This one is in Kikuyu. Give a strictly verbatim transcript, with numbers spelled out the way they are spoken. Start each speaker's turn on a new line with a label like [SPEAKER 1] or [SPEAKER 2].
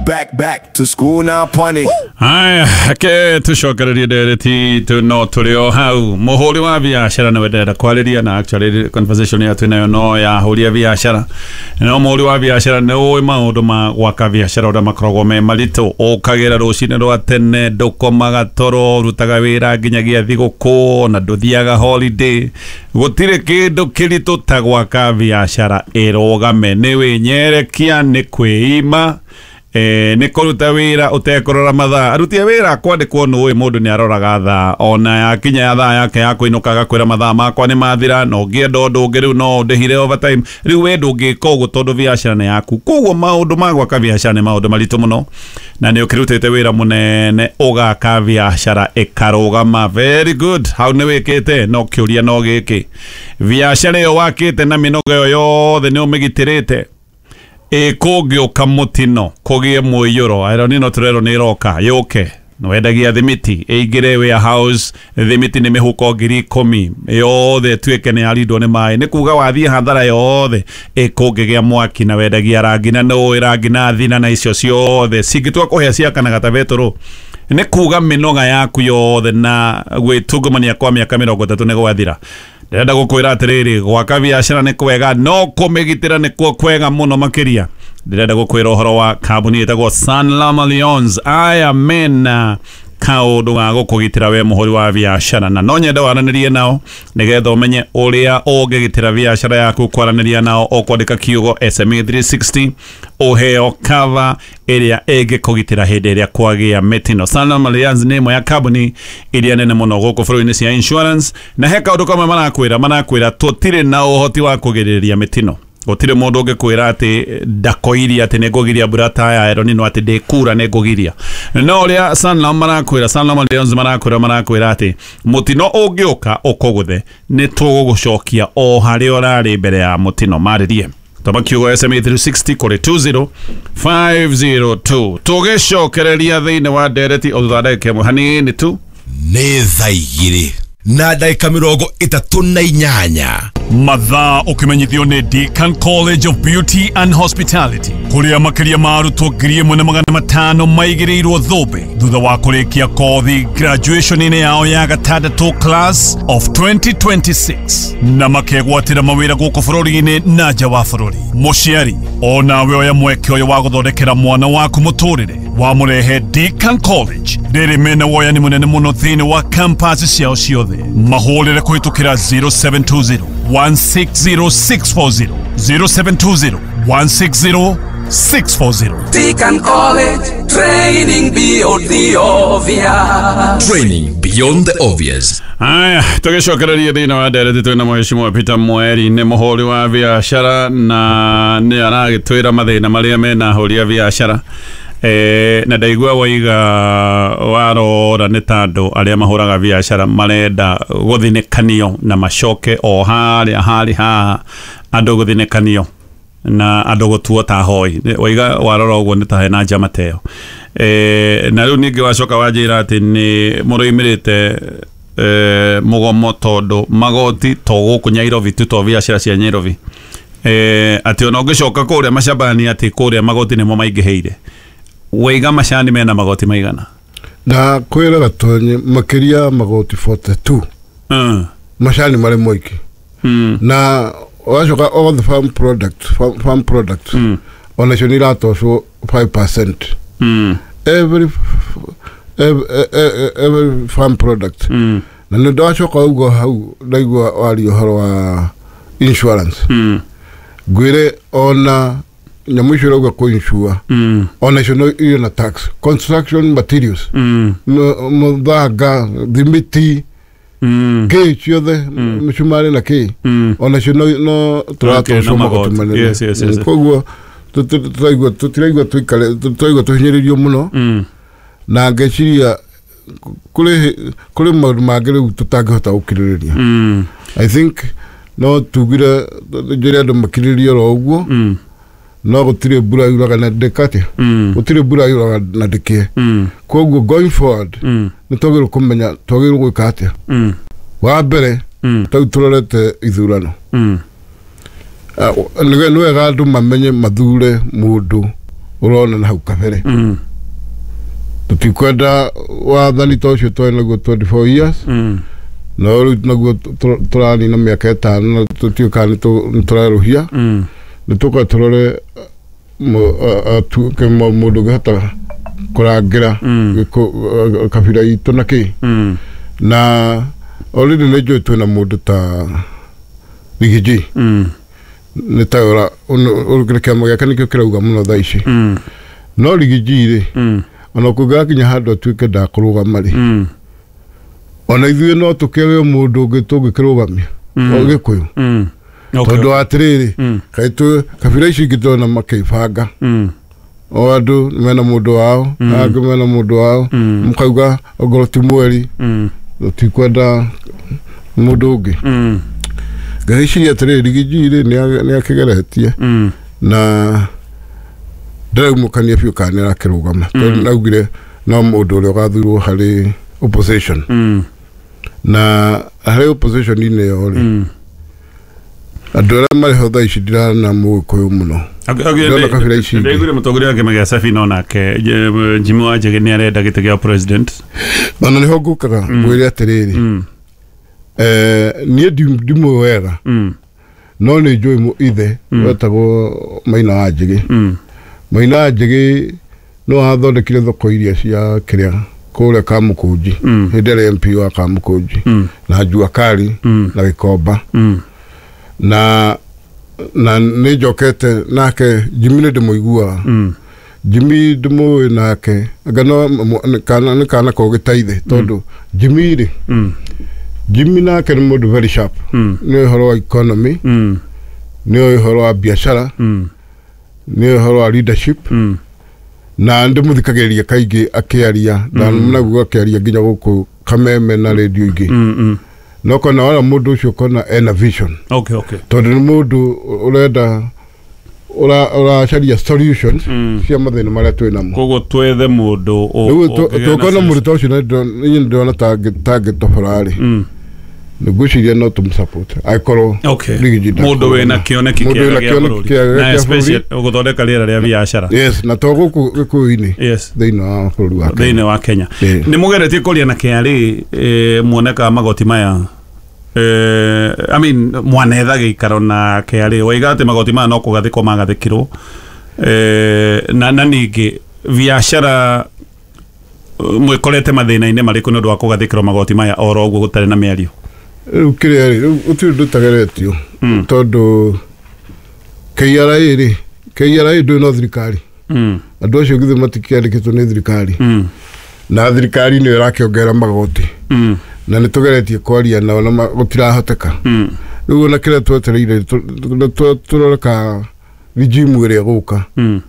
[SPEAKER 1] Back, back to school now, punny.
[SPEAKER 2] Haya, ke tucokererie ndereti tu no tũrĩ o hau. Mũhũri wa biacara nĩwe ndĩrenda kwarĩria na actually conversation ya twĩ nayo no ya ahũri a biacara. No mũhũri wa biacara nĩ ũĩ maũndũ ma gwaka biacara ũrĩa makoragwo me maritũ. Ũkagĩra rũcinĩ rwa tene, ndũkomaga toro, ũrutaga wĩra nginyagia thigũkũ na ndũthiaga holiday. Gũtirĩ kĩndũ kĩritũ ta gwaka biacara ĩrũgame. Nĩ wĩnyerekia, nĩ kwĩima, eh, nĩ kũruta wĩra ũtekũrora mathaa. Aruti a wĩra kwandĩkwo nũĩ mũndũ nĩ aroraga thaa, ona yakinya ya thaa yake ya kũinũka agakwĩra mathaa makwa nĩ mathira, na ũngĩenda ũndũ ũngĩ rĩu no ũndĩhire overtime. Rĩu we ndũngĩka ũguo tondũ biacara nĩ yaku. Koguo maũndũ ma gwaka biacara nĩ maũndũ maritũ mũno, na nĩ ũkĩrutĩte wĩra mũnene ũgaka biacara ĩkarũgama. Very good, hau nĩ wĩkĩte. No kĩũria no gĩkĩ, biacara ĩyo wakĩte na mĩnoga ĩyo yothe nĩ ũmĩgitĩrĩte? Ĩkũngĩũka mũtino kũgĩe mũiyũro, aero nino tũrerwo nĩ ĩroka yũke, nĩwendagia thimiti ĩingĩre warehouse, thimiti nĩ mĩhuko ngiri ikũmi yothe ĩtuĩke nĩ yarindwo nĩ maĩ, nĩ kuga wathiĩ hathara yothe. Ĩkũngĩgĩa mwaki na wendagia rangi na nĩ ũĩ rangi na thina na icio ciothe cingĩtua kũhĩa ciakanaga ta betũrũ, nĩ kuga mĩnoga yaku yothe na gwĩtungumania kwa mĩaka mĩrongo ĩtatũ nĩ gwathira. Ndĩrenda gũkwĩra atĩrĩrĩ, gwaka biacara nĩ kwega, no kũmĩgitĩra nĩkuo kwega mũno makĩria. Ndĩrenda gũkwĩra ũhoro wa kambuni ĩtagwo Sanlam Allianz. Aya mena kaũndũ ga gũkũgitĩra we mũhũri wa biacara, na no nyende waranĩrie nao nĩgetha ũmenye ũrĩa ũngĩgitĩra biacara yaku. Kwaranĩria nao ũkwandĩka kiugo S M E three sixty ũheo cover ĩrĩa ĩngĩkũgitĩra hĩndĩ ĩrĩa kwagĩa mĩtino. Sanlam Allianz nĩ ĩmwe ya kambuni iria nene mũno gũkũ bũrũri-inĩ cia insurance, na he kaũndũ kamwe marakwĩra, marakwĩra tũtirĩ na ũhoti wa kũgirĩrĩria mĩtino. Gũtirĩ mũndũ ũngĩkwĩra atĩ ndakoirie atĩ nĩngũgiria mbura ta ya El Nino, atĩ ndĩkura nĩngũgiria. No ũrĩa Sanlam marakwĩra, Sanlam Allianz marakwĩra, marakwĩra atĩ mũtino ũngĩũka ũkũgũthe nĩ tũgũgũcokia o harĩa ũrarĩ mbere ya mũtino. Marĩrie toma kiugo S M E three sixty kũrĩ two zero five zero two. Tũgĩcokereria thĩinĩ wa ndereti o thutha wa ndagĩka ĩmwe hanini tu.
[SPEAKER 3] Nĩ thaa igĩrĩ na ndagĩka mĩrongo ĩtatũ na inyanya.
[SPEAKER 2] Mathaa ũkĩmenyithio nĩ Deakin College of Beauty and Hospitality, kũrĩa makĩria ma arutwo ngiri ĩmwe na magana matano maigĩrĩirwo thũmbĩ thutha wa kũrĩkia kothi graduation-inĩ yao ya gatandatũ class of twenty twenty-six, na makegwatĩra mawĩra gũkũ bũrũri-inĩ na nja wa bũrũri. Mũciari onawe oya mweke ũyũ wa gũthondekera mwana waku mũtũrĩre, wamũrehe Deakin College. Rĩrĩ mena woyani mũnene mũno thĩinĩ wa campus ciao ciothe. Mahũrĩre kũhĩtũkĩra zero seven two zero one six zero six four zero, zero seven two zero one six zero six four zero.
[SPEAKER 4] Deakin College, training beyond the obvious.
[SPEAKER 3] Training beyond the obvious.
[SPEAKER 2] Aya, tũgĩcokereria thĩinĩ wa ndereti twĩna Mheshimiwa Peter Mweri, nĩ mũhũri wa biacara na nĩ aragĩtwĩra mathĩna marĩa mena ahũri a biacara. Eh, na ndaigua waiga warora nĩ ta andũ arĩa mahũraga biacara marenda gũthinĩkanio na macoke o harĩa harĩ haha andũ gũthinĩkanio na andũ gũtuo ta hoi. Waiga warora ũguo nĩ ta hena njama ta ĩyo. Eh, na rĩu ningĩ wacoka wanjĩra atĩ nĩ mũrũimĩrĩte eh, mũgomo tondũ magoti to gũkũ Nairobi tu, to biacara cia Nairobi. Eh, atĩ ona ũngĩcoka kũrĩa macambani atĩ kũrĩa magoti nĩmo maingĩhĩire. Waiga macani mena magoti maigana?
[SPEAKER 5] Na kwĩra Gatonye makĩria magoti forty-two.
[SPEAKER 2] Mm.
[SPEAKER 5] Macani marĩ moiki.
[SPEAKER 2] Mm.
[SPEAKER 5] Na wacoka all the farm products, farm, farm products.
[SPEAKER 2] Mm.
[SPEAKER 5] Onacio nĩ iratocwo five percent.
[SPEAKER 2] Mm.
[SPEAKER 5] Every, every, every farm product.
[SPEAKER 2] Mm.
[SPEAKER 5] Na nĩ ndacoka ũguo hau ndaigua waria ũhoro wa insurance.
[SPEAKER 2] Mm.
[SPEAKER 5] Ngwĩre ona nyamũ icio ũrauga kũ-insure.
[SPEAKER 2] Mm.
[SPEAKER 5] Ona icio no irĩ na tax. Construction materials.
[SPEAKER 2] Mm.
[SPEAKER 5] Mũthanga, thimiti,
[SPEAKER 2] Mm.
[SPEAKER 5] kĩ ciothe, mĩcumarĩ na kĩ.
[SPEAKER 2] Mm.
[SPEAKER 5] Ona icio no, no tũratocwo magoti manene.
[SPEAKER 2] Yes, yes, yes.
[SPEAKER 5] Koguo tũtiraigua tũtiraigua tũikare tũtiraigua tũhinyĩrĩirio mũno.
[SPEAKER 2] Mm.
[SPEAKER 5] Na ngeciria kũrĩ kũrĩ maũndũ mangĩ rĩu tũtangĩhota gũkirĩrĩria.
[SPEAKER 2] Mm.
[SPEAKER 5] I think no tugire njĩre andũ makirĩrĩrie oro ũguo.
[SPEAKER 2] Mm.
[SPEAKER 5] No gũtirĩ mbura yuraga na ndĩkatĩa.
[SPEAKER 2] Mm.
[SPEAKER 5] Gũtirĩ mbura yuraga na ndĩkĩe.
[SPEAKER 2] Mm.
[SPEAKER 5] Koguo going forward
[SPEAKER 2] Mm.
[SPEAKER 5] nĩ twagĩrĩirwo kũmenya twagĩrĩirwo gwĩka atĩa.
[SPEAKER 2] Mm.
[SPEAKER 5] Wa mbere
[SPEAKER 2] Mm.
[SPEAKER 5] tau tũrorete ithurano.
[SPEAKER 2] Mm.
[SPEAKER 5] Nĩ wega andũ mamenye mathure mũndũ Ũrona na hau kabere
[SPEAKER 2] Mm.
[SPEAKER 5] Tũtikwenda wathani ta ũcio twarĩ naguo twenty-four years.
[SPEAKER 2] Mm.
[SPEAKER 5] No rĩu naguo tũ- tũranina mĩaka ĩtano na tũtiũĩ kana nĩ tũ- nĩ tũrerũhia.
[SPEAKER 2] Mm.
[SPEAKER 5] Nĩ tũka tũrore mũ- a- atuĩke mũ- mũndũ ũngĩhota kũrangĩra
[SPEAKER 2] Mm.
[SPEAKER 5] gĩkũ- kabira itũ na kĩ.
[SPEAKER 2] Mm.
[SPEAKER 5] Na already nĩ njũĩ twĩna mũndũ ta Rigiji.
[SPEAKER 2] Mm.
[SPEAKER 5] Nĩ ta ũra ũrũkĩre kĩama gĩake nĩkĩo kĩrauga mũno thaa ici.
[SPEAKER 2] Mm.
[SPEAKER 5] No Rigiji rĩ,
[SPEAKER 2] Mm.
[SPEAKER 5] ona kũngĩgakinya handũ atuĩke ndakũrũgama rĩ,
[SPEAKER 2] Mm.
[SPEAKER 5] ona ithuĩ no tũkĩrĩ mũndũ ũngĩ tũngĩkĩrũgamia
[SPEAKER 2] Mm.
[SPEAKER 5] o Gĩkũyũ.
[SPEAKER 2] Mm. Okay.
[SPEAKER 5] Tondũ atĩrĩrĩ,
[SPEAKER 2] Mm.
[SPEAKER 5] kaĩ twĩ kabira ici ingĩ tũrona makĩbanga,
[SPEAKER 2] Mm.
[SPEAKER 5] o andũ mena mũndũ wao, angĩ mena mũndũ wao,
[SPEAKER 2] Mm.
[SPEAKER 5] mũkauga ongorwo ti mweri
[SPEAKER 2] Mm.
[SPEAKER 5] tũtikwenda mũndũ ũngĩ.
[SPEAKER 2] Mm.
[SPEAKER 5] Ngagĩciria atĩrĩrĩ, Rigiji rĩ nĩ akĩgeretie
[SPEAKER 2] Mm.
[SPEAKER 5] na ndĩraumũkania biũ kana nĩ arakĩrũgama, tondũ naugire no mũndũ ũrĩa ũgathurwo harĩ opposition.
[SPEAKER 2] Mm.
[SPEAKER 5] Na harĩ opposition-inĩ ĩyo rĩ,
[SPEAKER 2] Mm.
[SPEAKER 5] andũ arĩa marĩ ho thaa ici ndirana mũgĩkũyũ mũno. Ndĩrona kabira ici ingĩ.
[SPEAKER 2] Ndaiguire mũtongoria wa kĩama gĩa Safina onake Je- Jimmy Wanjigi nĩ arenda gĩtĩ gĩa president.
[SPEAKER 5] Ona nĩho ngũkaga ngwĩre atĩrĩrĩ,
[SPEAKER 2] Mm.
[SPEAKER 5] eh, niĩ ndi- ndimũĩ wega,
[SPEAKER 2] Mm.
[SPEAKER 5] no nĩ njũĩ mũ- ithe wetagwo Maina wa Njĩgĩ.
[SPEAKER 2] Mm.
[SPEAKER 5] Maina wa Njĩgĩ no athondekire thoko iria cia kĩrĩa kũrĩa Kamũkũnji
[SPEAKER 2] Mm.
[SPEAKER 5] hĩndĩ ĩrĩa M P wa Kamũkũnji
[SPEAKER 2] Mm.
[SPEAKER 5] na Jua Kali
[SPEAKER 2] Mm.
[SPEAKER 5] na Gĩkomba.
[SPEAKER 2] Mm.
[SPEAKER 5] na na nĩ njokete nake Jimmy nĩ ndĩmũiguaga.
[SPEAKER 2] Mm.
[SPEAKER 5] Jimmy ndĩmũĩ nake anga no nĩ kana nĩ kana kogĩ ta ithe, tondũ Jimmy rĩ,
[SPEAKER 2] Mm.
[SPEAKER 5] Jimmy nake nĩ mũndũ very sharp.
[SPEAKER 2] Mm.
[SPEAKER 5] Nĩ ũhoro wa economy,
[SPEAKER 2] Mm.
[SPEAKER 5] nĩ ũhoro wa biacara,
[SPEAKER 2] Mm.
[SPEAKER 5] nĩ ũhoro wa leadership.
[SPEAKER 2] Mm.
[SPEAKER 5] Na ndĩmũthikagĩrĩria kaingĩ akĩaria ndanaguo akĩaria nginya gũkũ Kameme na rĩndio ingĩ.
[SPEAKER 2] Mm. Mm.
[SPEAKER 5] No kona wala mũndũ ũcio kona ena vision,
[SPEAKER 2] Okay, okay.
[SPEAKER 5] tondũ nĩ mũndũ ũrenda ũra- ũracaria solutions
[SPEAKER 2] Mm.
[SPEAKER 5] cia mathĩna marĩa twĩ namo.
[SPEAKER 2] Koguo twethe mũndũ ũ-
[SPEAKER 5] Rĩu
[SPEAKER 2] ũngĩgĩa na
[SPEAKER 5] tũkona mũndũ
[SPEAKER 2] solution.
[SPEAKER 5] ta ũcio na niĩ ndĩrona tangĩtobora rĩ,
[SPEAKER 2] Mm.
[SPEAKER 5] nĩngwĩciria no tũmũsupport angĩkorwo
[SPEAKER 2] Okay.
[SPEAKER 5] Rigiji
[SPEAKER 2] Mũndũ wĩna kĩoneki
[SPEAKER 5] Mũndũ
[SPEAKER 2] kĩega
[SPEAKER 5] wĩna
[SPEAKER 2] gĩa
[SPEAKER 5] kĩoneki
[SPEAKER 2] bũrũri.
[SPEAKER 5] kĩega
[SPEAKER 2] Na
[SPEAKER 5] gĩa
[SPEAKER 2] especially
[SPEAKER 5] bũrũri.
[SPEAKER 2] gũthondeka rĩera rĩa biacara.
[SPEAKER 5] Yes, na to gũkũ Gĩkũyũ-inĩ,
[SPEAKER 2] Yes.
[SPEAKER 5] thĩinĩ wa bũrũri wa Kenya.
[SPEAKER 2] Thĩinĩ wa Kenya.
[SPEAKER 5] Ĩĩ.
[SPEAKER 2] Nĩ mũgeretie kũria na K R A eh, muone kana magoti maya, eh, I mean, mwanetha gĩikaro na K R A waiga atĩ magoti maya no kũgathĩkwo magathĩkirwo, eh, na, na ningĩ biacara eh, mwĩkorete mathĩna-inĩ marĩkũ nĩ ũndũ wa kũgathĩkĩrwo magoti maya oro ũguo gũtarĩ na mĩario?
[SPEAKER 5] Rĩu kĩrĩa rĩ, rĩu gũtirĩ ũndũ ũtageretio,
[SPEAKER 2] Mm.
[SPEAKER 5] tondũ K R A rĩ, K R A ndũĩ no thirikari.
[SPEAKER 2] mm.
[SPEAKER 5] Andũ acio githĩ matikĩandĩkĩtwo nĩ thirikari?
[SPEAKER 2] Mm.
[SPEAKER 5] Na thirikari nĩyo ĩrakĩongerera magoti.
[SPEAKER 2] Mm.
[SPEAKER 5] Na nĩ tũgeretie kwaria nao na ma- gũtirahoteka.
[SPEAKER 2] Mm.
[SPEAKER 5] Rĩu ona kĩrĩa twetereire tũ- tũ- tũrore ka regime ĩrĩa ĩgũka.
[SPEAKER 2] Mm.